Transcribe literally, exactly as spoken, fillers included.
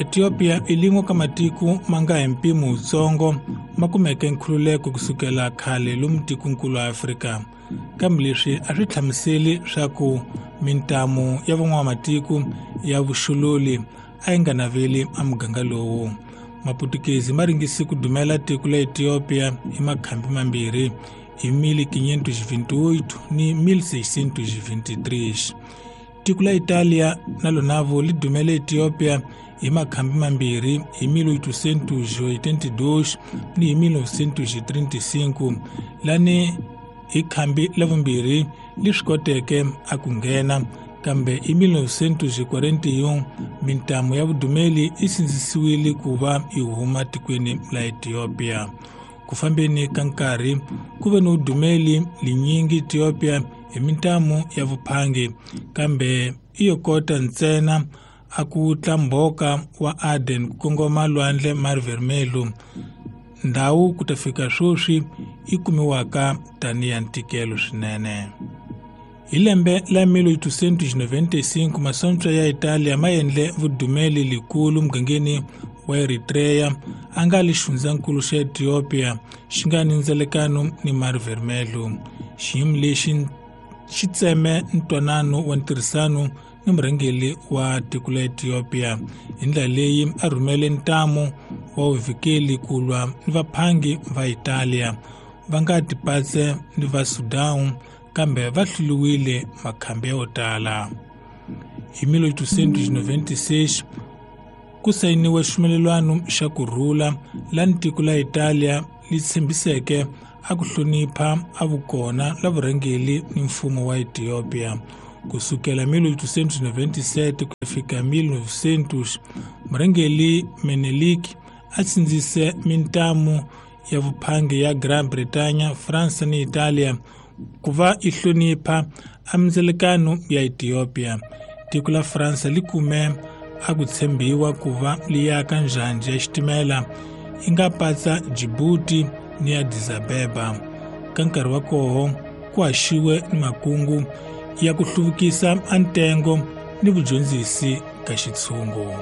Ethiopia i lin'we ka matiko ma nga hi mpimo wutsongo ma kumeke nkhululeko kusukela khale lomu tikonkulu wa Afrika. Kambe leswi a swi hlamuseli swa ku mintamu ya van'wamatiko ya vuxololi a yi nga naveli a muganga lowu. Maputukezi ma ringise ku dumela tiko la Ethiopia hi makhambi mambirhi hi mil quinhentos e vinte e oito ni mil seiscentos e vinte e três. Tiko la Italia na lonavo li dumele Ethiopia hi makhambi mambirhi hi mil oitocentos e oitenta e dois ni hi mil novecentos e trinta e cinco, lani hi khambi la vumbirhi li swi koteke a ku nghena, kambe hi mil novecentos e quarenta e um mintamu ya vudumeli yi sindzisiwile ku va yi huma tikweni la Ethiopia. Ku fambeni ka nkarhi ku ve ni vudumeli linyingi Ethiopia hi mintamu ya vuphangi, kambe i yo kota ntsena a ku tla mbhoka wa Aden ku kongoma lwandle Mar Vermelho, ndhawu ku ta fika sweswi yi kumiwaka tanihi ya ntikelo swinene. Hi lembe la mil oitocentos e noventa e cinco masocha ya Italia ma endle vudumeli likulu mugangeni wa Eritrea a nga li xifundzankulu xa Ethiopia xi nga ni ndzelekano ni Mar Vermelho. Xiyimo lexi xi tseme ntwanano wa ntirhisano ni murhangeri wa tiko la Ethiopia hi ndlela leyi a rhumele ntamu wa vuvikeli ku lwa ni vaphangi va Italia va nga tipatse ni va Sudan, kambe va hluriwile makhambi yo tala. Hi mil oitocentos e noventa e seis ku sayiniwe xivumelwano xa ku rhula lani tiko la Italia li tshembiseke a ku hlonipha a vukona la vurhangeri ni mfumo wa Ethiopia. Kusukela mil oitocentos e noventa e sete ku fika mil novecentos, murhangeri Menelik a sindzise mintamu ya vuphangi ya Gran Bretagne, Fransa ni Italia ku va yi hlonipha a mindzelekano ya Ethiopia. Tiko la Fransa li kume a ku tshembiwa ku va li yaka njhanjhi ya xitimela yi nga patsa Djibouti ni Addis Abeba. Ka nkarhi wa koho ku haxiwe ni makungu ya ku hluvukisa a ntengo ni vudyondzisi ka xitshungu.